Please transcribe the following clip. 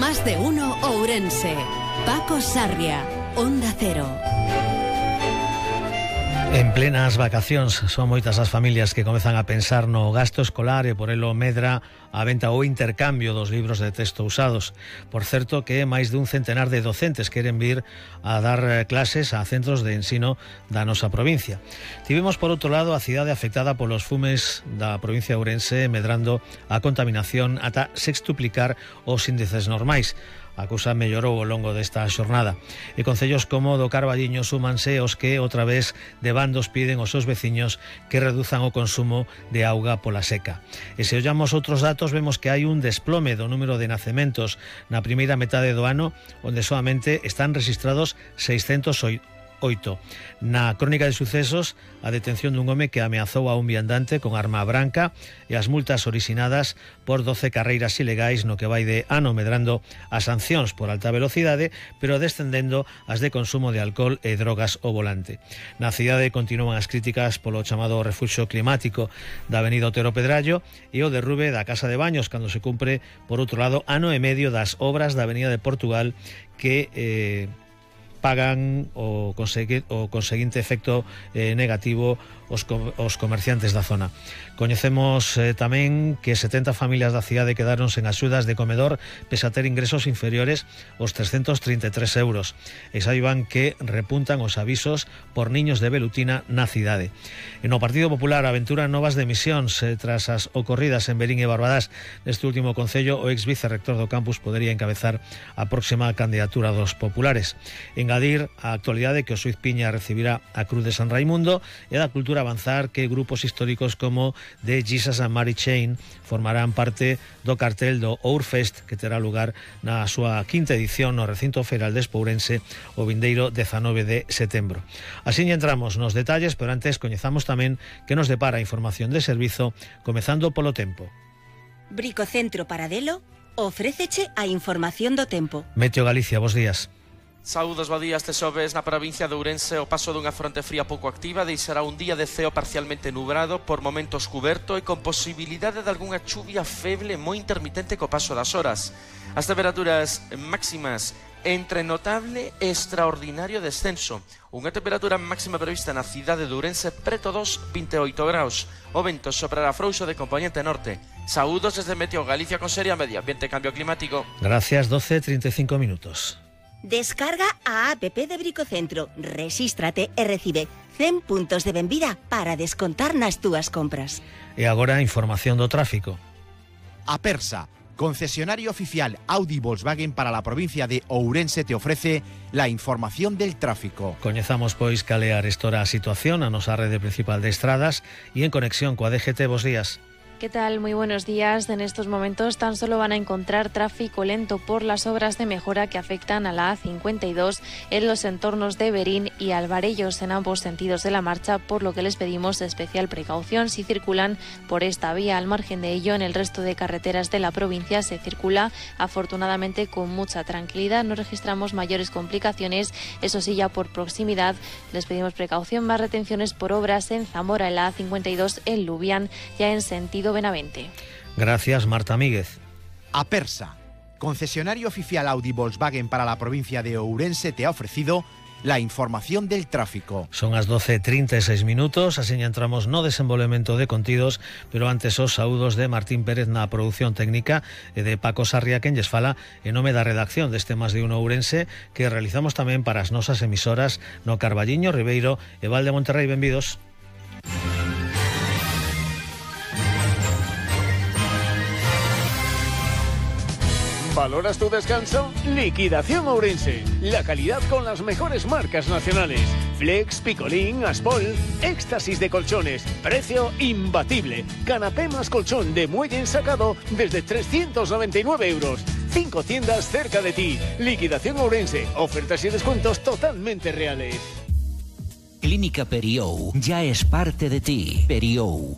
Más de uno Ourense. Paco Sarria, Onda Cero. En plenas vacacións son moitas as familias que comezan a pensar no gasto escolar e por elo medra a venta ou intercambio dos libros de texto usados. Por certo que máis dun centenar de docentes queren vir a dar clases a centros de ensino da nosa provincia. Tivemos por outro lado a cidade afectada polos fumes da provincia de Ourense, medrando a contaminación ata sextuplicar os índices normais. A cousa mellorou ao longo desta xornada e concellos como do Carballiño súmanse os que outra vez de bandos piden aos seus veciños que reduzan o consumo de auga pola seca. E se ollamos outros datos vemos que hai un desplome do número de nacementos na primeira metade do ano, onde solamente están rexistrados 608. Na crónica de sucesos, a detención dun home que ameazou a un viandante con arma branca e as multas orixinadas por 12 carreiras ilegais no que vai de ano, medrando as sancións por alta velocidade, pero descendendo as de consumo de alcohol e drogas ao volante. Na cidade continúan as críticas polo chamado refuxio climático da avenida Otero Pedrallo e o derrube da Casa de Baños cando se cumpre, por outro lado, ano e medio das obras da avenida de Portugal que pagan o conseguinte efecto negativo os comerciantes da zona. Coñecemos tamén que 70 familias da cidade quedaron sen axudas de comedor pese a ter ingresos inferiores aos 333 euros. E saiban que repuntan os avisos por niños de velutina na cidade. E no Partido Popular aventura novas demisións tras as ocorridas en Verín e Barbadás. Neste último concello, o ex vicerrector do campus podería encabezar a próxima candidatura dos populares. Engadir a actualidade que o Suiz Piña recibirá a Cruz de San Raimundo e da cultura avanzar que grupos históricos como The Jesus and Mary Chain formarán parte do cartel do Ourfest que terá lugar na súa quinta edición no recinto feiral de Espourense o vindeiro 19 de setembro. Así entramos nos detalles, pero antes coñezamos tamén que nos depara a información de servizo, comezando polo tempo. Bricocentro Paradelo ofréceche a información do tempo. Meteo Galicia, bos días. Saúdos, bo día. Este xoves na provincia de Ourense o paso dunha fronte fría pouco activa deixará un día de ceo parcialmente nubrado, por momentos cuberto e con posibilidade de algunha chuvia feble moi intermitente co paso das horas. As temperaturas máximas entre notable e extraordinario descenso. Unha temperatura máxima prevista na cidade de Ourense preto dos 28 graus. O vento soprará frouxo de componente norte. Saúdos desde Meteo Galicia con Seria Medio Ambiente e Cambio Climático. Gracias, 12:35 minutos. Descarga a app de Bricocentro, rexístrate e recibe 100 puntos de benvida para descontar nas túas compras. E agora información do tráfico. Apersa, concesionario oficial Audi Volkswagen para la provincia de Ourense, te ofrece la información del tráfico. Coñezamos pois cal é arestora a situación a nosa rede principal de estradas e en conexión coa DGT. Bos días. ¿Qué tal? Muy buenos días. En estos momentos tan solo van a encontrar tráfico lento por las obras de mejora que afectan a la A52 en los entornos de Verín y Alvarellos en ambos sentidos de la marcha, por lo que les pedimos especial precaución si circulan por esta vía. Al margen de ello, en el resto de carreteras de la provincia se circula afortunadamente con mucha tranquilidad. No registramos mayores complicaciones, eso sí, ya por proximidad les pedimos precaución, más retenciones por obras en Zamora, en la A52 en Lubián, ya en sentido Benavente. Gracias, Marta Míguez. Apersa, concesionario oficial Audi Volkswagen para la provincia de Ourense, te ha ofrecido la información del tráfico. Son as 12:36 minutos, así entramos no desenvolvemento de contidos, pero antes os saúdos de Martín Pérez na produción técnica e de Paco Sarria, quen lles fala en nome da redacción deste Más de Uno Ourense, que realizamos tamén para as nosas emisoras no Carballiño, Ribeiro e Val de Monterrei. Benvidos. ¿Valoras tu descanso? Liquidación Ourense. La calidad con las mejores marcas nacionales. Flex, Picolín, Aspol. Éxtasis de colchones. Precio imbatible. Canapé más colchón de muelle ensacado desde 399 euros. 5 tiendas cerca de ti. Liquidación Ourense. Ofertas y descuentos totalmente reales. Clínica Periou ya es parte de ti. Periou.